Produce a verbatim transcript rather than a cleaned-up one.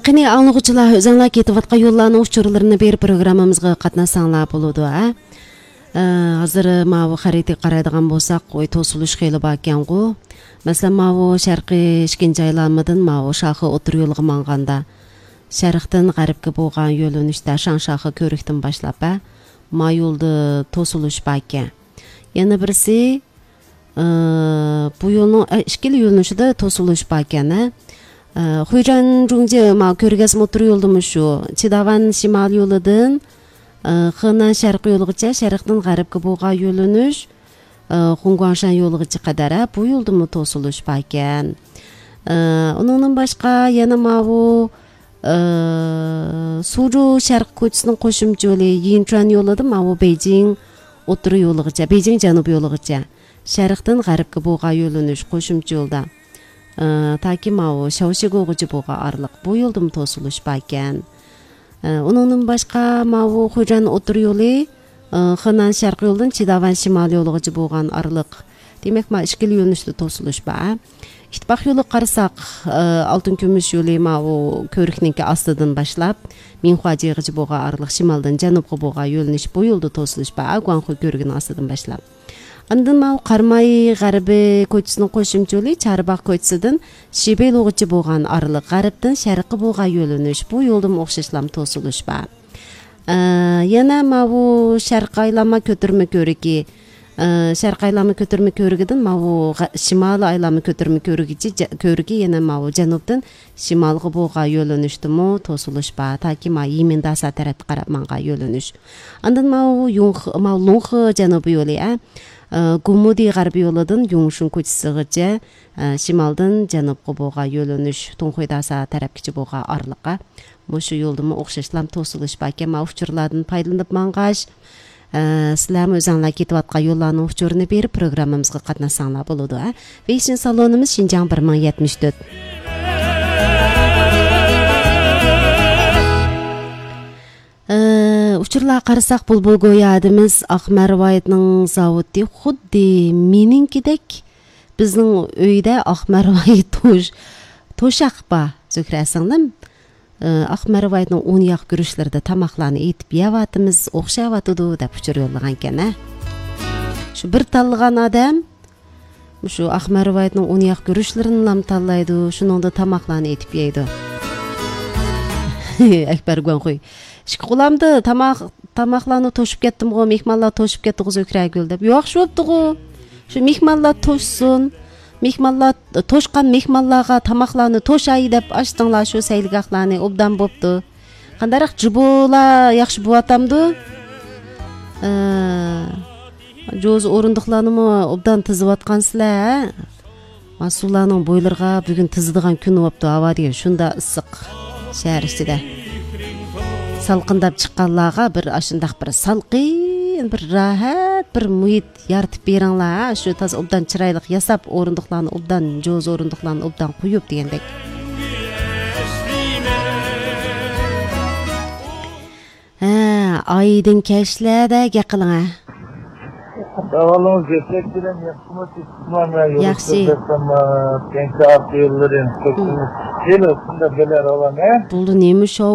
قېنى، ئاڭلىغۇچىلار، ئۆزۈڭلار كېتىۋاتقان يوللارنىڭ ئۇچۇرلىرىنى بېرىپ، پروگراممىمىزغا قاتناشساڭلار بولىدۇ، ھە؟ ئە، ھازىر ماۋۇ خەرىتىگە قارايدىغان بولساق، ئوي توسۇلۇش خېلى باركەنغۇ. مەسىلەن، ماۋۇ شەرقىي ئىككىنچى ئايلانمىدىن ماۋۇ شاخې ئوتتۇرا يولىغا ماڭغاندا، شەرقتىن غەربكە بولغان يۆنىلىشتە شاڭشاخې كۆۋرۈكتىن باشلاپ، ھە، ما يولدا توسۇلۇش باركەن. يەنە بىرسى، ئى، بۇ يولنىڭ، ئە، ئىككىلا يۆنىلىشىدە توسۇلۇش باركەن، ھە. ئى، خۇيجەن جۇڭجى ما كۆرگەزمە ئوتتۇرا يولدىمۇ شۇ. چىداۋەن شىمال يولىدىن، ئى، خېنەن شەرقىي يولىغىچە، شەرقتىن غەربكە بولغان يۆنىلىش، ئى، خۇڭگۇاڭشەن يولىغىچە قەدەر، ھە، بۇ يولدىمۇ توسۇلۇش باركەن. ئى، ئۇنىڭدىن باشقا يەنە ماۋۇ، ئى، سۇجۇ شەرق كوچىسىنىڭ قوشۇمچە يولى يىنچۈەن يولىدا ماۋۇ بېيجىڭ ئوتتۇرا يولىغىچە، بېيجىڭ جەنۇب يولىغىچە. شەرقتىن غەربكە بولغان يۆنىلىش قوشۇمچە يولدا، ئى، تاكى ماۋۇ شاۋشىگوغىچە بولغان ئارىلىق، بۇ يولدىمۇ توسۇلۇش باركەن. ئى، ئۇنىڭدىن باشقا ماۋۇ خۇجەن ئوتتۇرا يولى، ئى، خېنەن شەرقىي يولىدىن چىداۋەن شىمال يولىغىچە بولغان ئارىلىق. دېمەك، ما ئىككىلا يۆنىلىشتە توسۇلۇش بار. ئىتتىپاق يولىغا قارىساق، ئى، ئالتۇن كۈمۈش يولى ماۋۇ كۆۋرۈكنىڭكى ئاستىدىن باشلاپ، مىڭخۇاجيېغىچە بولغان ئارىلىق، شىمالدىن جەنۇبقا بولغان يۆنىلىش، بۇ يولدا توسۇلۇش بار، گۇاڭخۇي كۆۋرۈكىنىڭ ئاستىدىن باشلاپ. ئاندىن ماۋۇ قاراماي غەربىي كوچىسىنىڭ قوشۇمچە يولى چارباغ كوچىسىدىن شىبېيلۇغىچە بولغان ئارىلىق، غەربتىن شەرققە بولغان يۆنىلىش، بۇ يولدىمۇ ئوخشاشلام توسۇلۇش بار. ئە، يەنە ماۋۇ شەرقىي ئايلانما كۆتۈرمە كۆۋرۈكى، ئە، شەرقىي ئايلانما كۆتۈرمە كۆۋرۈكىدىن ماۋۇ غە-، شىمالىي ئايلانما كۆتۈرمە كۆۋرۈكىچە جە-، كۆۋرۈكى يەنە ماۋۇ جەنۇبتىن شىمالغا بولغان يۆنىلىشتىمۇ توسۇلۇش بار. تاكى ما يىمىنداسا تەرەپكە قاراپ ماڭغان يۆنىلىش. ئاندىن ماۋۇ يۇڭخې، ماۋۇ لۇڭخې جەنۇبىي يولى، ئە، ئە، گۇمۇدى غەربىي يولىدىن يۇڭشۇن كوچىسىغىچە، ئە، شىمالدىن جەنۇبقا بولغان يۆنىلىش، تۇڭخۇيداسا تەرەپكىچە بولغان ئارىلىققا. مۇشۇ يولدىمۇ ئوخشاشلام توسۇلۇش باركەن. ماۋۇ ئۇچۇرلاردىن پايدىلىنىپ ماڭغاچ، ئە، سىلەرمۇ ئۆزۈڭلار كېتىۋاتقان يوللارنىڭ ئۇچۇرىنى بېرىپ، پروگراممىمىزغا قاتناشساڭلار بولىدۇ، ھە. ۋېيشىن سالونىمىز شىنجاڭ بىر مىڭ يەتمىش تۆت. ئە، ئۇچۇرلارغا قارىساق، بۇلبۇل گويا ھەدىمىز ئاق مەرۋايىتنىڭ زاۋۇتى خۇددى مېنىڭكىدەك. بىزنىڭ ئۆيدە ئاق مەرۋايىت توش-، توشاق بار، زۆھرە سىڭلىم. ئە، ئاق مەرۋايىتنىڭ ئۇن ياغ گۈرۈچلىرىدە تاماقلارنى ئېتىپ يەۋاتىمىز، ئوخشاۋاتىدۇ، دەپ ئۇچۇر يوللىغانكەن، ھە. شۇ بىر تاللىغان ئادەم مۇشۇ ئاق مەرۋايىتنىڭ ئۇن ياغ گۈرۈچلىرىنىلام تاللايدۇ، شۇنىڭدا تاماقلارنى ئېتىپ يەيدۇ. ئەكبەر گۇاڭخۇي. ئىككى قولامدا تاماق، تاماقلارنى توشۇپ كەتتىمغۇ، مېھمانلار توشۇپ كەتتىغۇ زۆھرەگۈل دەپ. ياخشى بوپتىغۇ. شۇ مېھمانلار توشسۇن. مېھمانلار، توشقان مېھمانلارغا تاماقلارنى توشاي دەپ ئاچتىڭلار شۇ سەيلىگاھلارنى، ئوبدان بوپتۇ. قانداقراق جۇبۇلار ياخشى بوۋاتامدۇ؟ ئە، جوزا ئورۇندۇقلارنىمۇ ئوبدان تىزىۋاتقانسىلەر، ھە؟ ما سۇلارنىڭ بويلىرىغا بۈگۈن تىزىدىغان كۈن بوپتۇ، ھاۋا دېگەن شۇنداق ئىسسىق شەھەر ئىچىدە. سالقىنداپ چىققانلارغا بىر ئاشۇنداق بىر سالقىن، بىر راھەت، بىر مۇھىت يارىتىپ بېرىڭلار، ھە، شۇ تازا ئوبدان چىرايلىق ياساپ، ئورۇندۇقلارنى ئوبدان، جوزا ئورۇندۇقلارنى ئوبدان قويۇپ دېگەندەك. ھە، ئايدىڭ كەچلەردە گەپ قىلىڭ، ھە. ئەھۋالىڭىز گەپلەپ بىلەن ياخشىمۇ، تېپىپمۇ؟ ياخشى. يوللىرى، كەڭچە ئارقا يوللىرى، كەچمىز. ھېلى شۇنداق بىلەر ئالان، ھە؟ بولدى، نېمە شاۋ